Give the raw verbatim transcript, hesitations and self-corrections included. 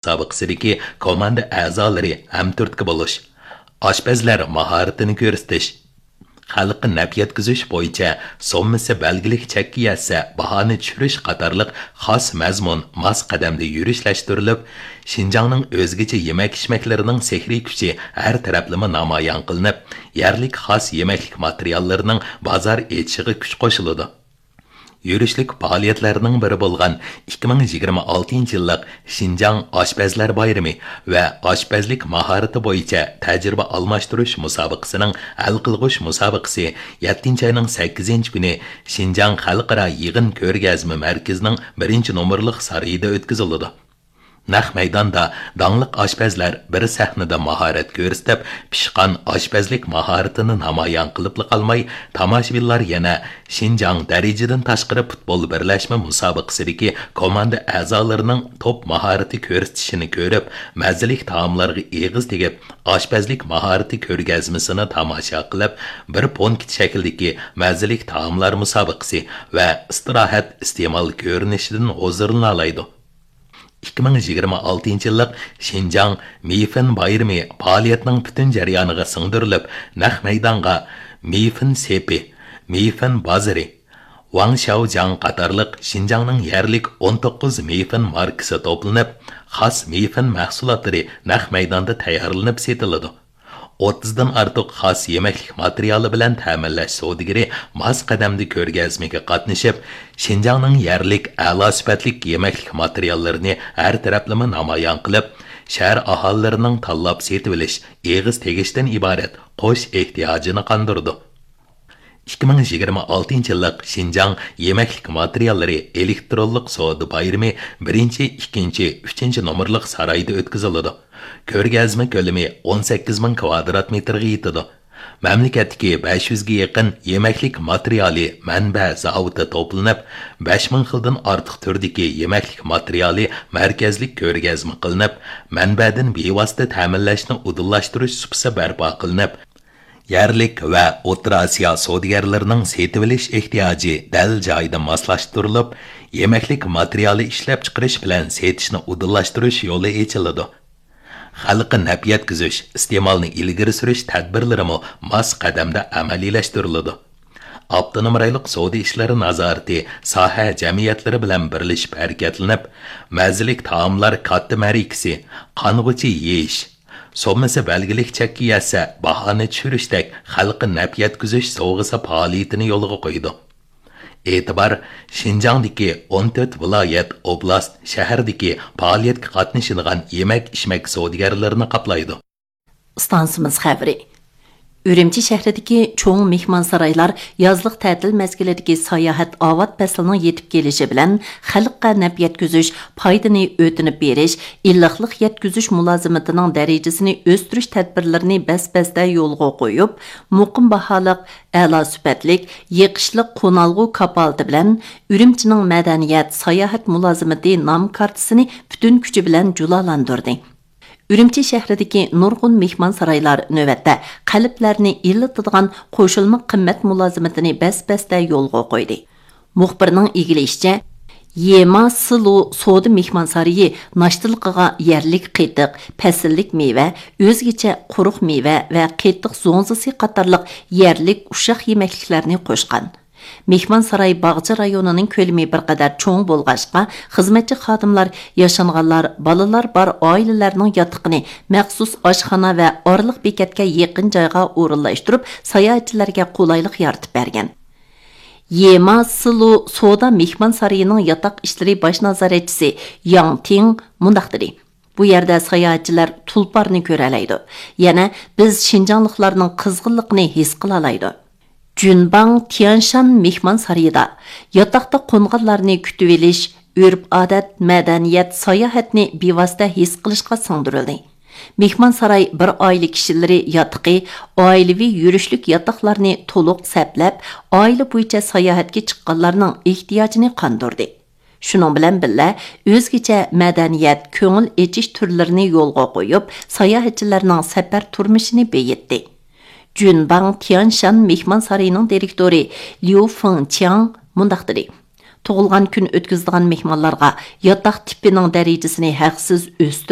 مۇسابىقىسىدىكى كوماندا ئەزالىرى ھەمتۈرتكە بولۇش، ئاشپەزلەر ماھارىتىنى كۆرسىتىش، خەلققە نەپ يەتكۈزۈش بويىچە سوممىسى بەلگىلىك چەككە يەتسە باھانى چۈشۈرۈش قاتارلىق خاس مەزمۇن ماس قەدەمدە يۈرۈشلەشتۈرۈلۈپ، شىنجاڭنىڭ ئۆزگىچە يېمەك-ئىچمەكلىرىنىڭ سېھرىي كۈچى ھەر تەرەپلىمە نامايان قىلىنىپ، يەرلىك خاس يېمەكلىك ماتېرىياللىرىنىڭ بازار ئېچىشىغا كۈچ قوشۇلىدۇ. يۈرۈشلۈك پائالىيەتلەرنىڭ بىرى بولغان ئىككى مىڭ يىگىرمە ئالتىنچى يىللىق شىنجاڭ ئاشپەزلەر بايرىمى ۋە ئاشپەزلىك ماھارىتى بويىچە تەجرىبە ئالماشتۇرۇش مۇسابىقىسىنىڭ ھەل قىلغۇچ مۇسابىقىسى يەتتىنچى ئاينىڭ سەككىزىنچى كۈنى شىنجاڭ خەلقئارا يىغىن كۆرگەزمە مەركىزىنىڭ بىرىنچى نومۇرلۇق سارىيىدا ئۆتكۈزۈلىدۇ. نەق مەيداندا داڭلىق ئاشپەزلەر بىر سەھنىدە ماھارەت كۆرسىتىپ، پىشقان ئاشپەزلىك ماھارىتىنى نامايان قىلىپلا قالماي، تاماشىبىنلار يەنە شىنجاڭ دەرىجىدىن تاشقىرى پۇتبول بىرلەشمە مۇسابىقىسىدىكى كوماندا ئەزالىرىنىڭ توپ ماھارىتى كۆرسىتىشىنى كۆرۈپ، مەززىلىك تائاملارغا ئېغىز تېگىپ، ئاشپەزلىك ماھارىتى كۆرگەزمىسىنى تاماشا قىلىپ، بىر پونكىت شەكلىدىكى مەززىلىك تائاملار مۇسابىقىسى ۋە ئىستىراھەت ئىستېمال كۆرۈنۈشىدىن ھۇزۇرلىنالايدۇ. ئىككى مىڭ يىگىرمە ئالتىنچى يىللىق شىنجاڭ مېيفېن بايرىمى پائالىيەتنىڭ پۈتۈن جەريانىغا سىڭدۈرۈلۈپ، نەق مەيدانغا مېيفېن سېپى، مېيفېن بازىرى، ۋاڭ شياۋجياڭ قاتارلىق شىنجاڭنىڭ يەرلىك ئون توققۇز مېيفېن ماركىسى توپلىنىپ، خاس مېيفېن مەھسۇلاتلىرى نەق مەيداندا تەييارلىنىپ سېتىلىدۇ. ئوتتۇزدىن ئارتۇق خاس يېمەكلىك ماتېرىيالى بىلەن تەمىنلەش سودىگىرى ماس قەدەمدە كۆرگەزمىگە قاتنىشىپ، شىنجاڭنىڭ يەرلىك ئەلا سۈپەتلىك يېمەكلىك ماتېرىياللىرىنى ھەر تەرەپلىمە نامايان قىلىپ، شەھەر ئاھالىلىرىنىڭ تاللاپ سېتىۋېلىش، ئېغىز تېگىشتىن ئىبارەت قوش ئېھتىياجىنى قاندۇرىدۇ. ئىككى مىڭ يىگىرمە ئالتىنچى يىللىق شىنجاڭ يېمەكلىك ماتېرىياللىرى ئېلېكترونلۇق سودا بايرىمى بىرىنچى، ئىككىنچى، ئۈچىنچى نومۇرلۇق سارايدا ئۆتكۈزۈلىدۇ. كۆرگەزمە كۆلىمى ئون سەككىز مىڭ كىۋادرات مېتىرغا يېتىدۇ. مەملىكەتتىكى بەش يۈزگە يېقىن يېمەكلىك ماتېرىيالى مەنبە زاۋۇتى توپلىنىپ، بەش مىڭ خىلدىن ئارتۇق تۈردىكى يېمەكلىك ماتېرىيالى مەركەزلىك كۆرگەزمە قىلىنىپ، مەنبەدىن بىۋاسىتە تەمىنلەشنى ئۇدۇللاشتۇرۇش سۇپىسى بەرپا قىلىنىپ، يەرلىك ۋە ئوتتۇرا ئاسىيا سودىگەرلىرىنىڭ سېتىۋېلىش ئېھتىياجى دەل جايىدا ماسلاشتۇرۇلۇپ، يېمەكلىك ماتېرىيالى ئىشلەپچىقىرىش بىلەن سېتىشنى ئۇدۇللاشتۇرۇش يولى ئېچىلىدۇ. خەلققە نەپ يەتكۈزۈش، ئىستېمالنى ئىلگىرى سۈرۈش تەدبىرلىرىمۇ ماس قەدەمدە ئەمەلىيلەشتۈرۈلىدۇ. ئاپتونوم رايونلۇق سودا ئىشلىرى نازارىتى ساھە جەمئىيەتلىرى بىلەن بىرلىشىپ ھەرىكەتلىنىپ، مەززىلىك تائاملار كاتتا مەرىكىسى، قانغۇچە يېيىش، سوممىسى بەلگىلىك چەككە يەتسە، باھانى چۈشۈرۈشتەك خەلققە نەپ يەتكۈزۈش سوۋغىسى پائالىيىتىنى يولغا قويىدۇ. ئېتىبار شىنجاڭدىكى ئون تۆت ۋىلايەت، ئوبلاست، شەھەردىكى پائالىيەتكە قاتنىشىدىغان يېمەك-ئىچمەك سودىگەرلىرىنى قاپلايدۇ. ئىستانسىمىز خەۋىرى. ئۈرۈمچى شەھىرىدىكى چوڭ مېھمانسارايلار يازلىق تەتىل مەزگىلىدىكى ساياھەت ئاۋات پەسلىنىڭ يېتىپ كېلىشى بىلەن خەلققە نەپ يەتكۈزۈش، پايدىنى ئۆتۈنۈپ بېرىش، ئىللىقلىق يەتكۈزۈش مۇلازىمىتىنىڭ دەرىجىسىنى ئۆستۈرۈش تەدبىرلىرىنى بەس-بەستە يولغا قويۇپ، مۇقىم باھالىق، ئەلا سۈپەتلىك، يېقىشلىق قونالغۇ كاپالىتى بىلەن ئۈرۈمچىنىڭ مەدەنىيەت، ساياھەت مۇلازىمىتى نام كارتىسىنى پۈتۈن كۈچى بىلەن جۇلالاندۇردى. ئۈرۈمچى شەھىرىدىكى نۇرغۇن مېھمانسارايلار نۆۋەتتە قەلبلەرنى ئىللىتىدىغان قوشۇلما قىممەت مۇلازىمىتىنى بەس-بەستە يولغا قويدى. مۇخبىرنىڭ ئىگىلىيىشىچە، يېما سىلۇ سودا مېھمانسارىيى ناشتىلىقىغا يەرلىك قېتىق، پەسىللىك مېۋە، ئۆزگىچە قۇرۇق مېۋە ۋە قېتىق زوڭزىسى قاتارلىق يەرلىك ئۇششاق يېمەكلىكلەرنى قوشقان. مېھمانساراي باغچە رايونىنىڭ كۆلىمى بىر قەدەر چوڭ بولغاچقا، خىزمەتچى خادىملار ياشانغانلار، بالىلار بار ئائىلىلەرنىڭ ياتىقىنى مەخسۇس ئاشخانا ۋە ئارىلىق بېكەتكە يېقىن جايغا ئورۇنلاشتۇرۇپ، ساياھەتچىلەرگە قولايلىق يارىتىپ بەرگەن. يېما سىلۇ سودا مېھمانسارىيىنىڭ ياتاق ئىشلىرى باش نازارەتچىسى ياڭ تىڭ مۇنداق دېدى. بۇ يەردە ساياھەتچىلەر تۇلپارنى كۆرەلەيدۇ. يەنە بىز شىنجاڭلىقلارنىڭ قىزغىنلىقىنى ھېس قىلالايدۇ. جۈنباڭ تيەنشان مېھمانسارىيىدا ياتاقتا قونغانلارنى كۈتۈۋېلىش، ئۆرپ-ئادەت، مەدەنىيەت، ساياھەتنى بىۋاسىتە ھېس قىلىشقا سىڭدۈرۈلدى. مېھمانساراي بىر ئائىلە كىشىلىرى ياتىقى، ئائىلىۋى يۈرۈشلۈك ياتاقلارنى تولۇق سەپلەپ، ئائىلە بويىچە ساياھەتكە چىققانلارنىڭ ئېھتىياجىنى قاندۇردى. شۇنىڭ بىلەن بىللە، ئۆزگىچە مەدەنىيەت، كۆڭۈل ئېچىش تۈرلىرىنى يولغا قويۇپ، ساياھەتچىلەرنىڭ سەپەر تۇرمۇشىنى بېيىتتى. جۈنباڭ تيەنشان مېھمانسارىيىنىڭ دىرېكتورى ليۇ فېڭچياڭ مۇنداق دېدى: تۇغۇلغان كۈن ئۆتكۈزىدىغان مېھمانلارغا ياتاق تىپىنىڭ دەرىجىسىنى ھەقسىز ئۆستۈرۈپ،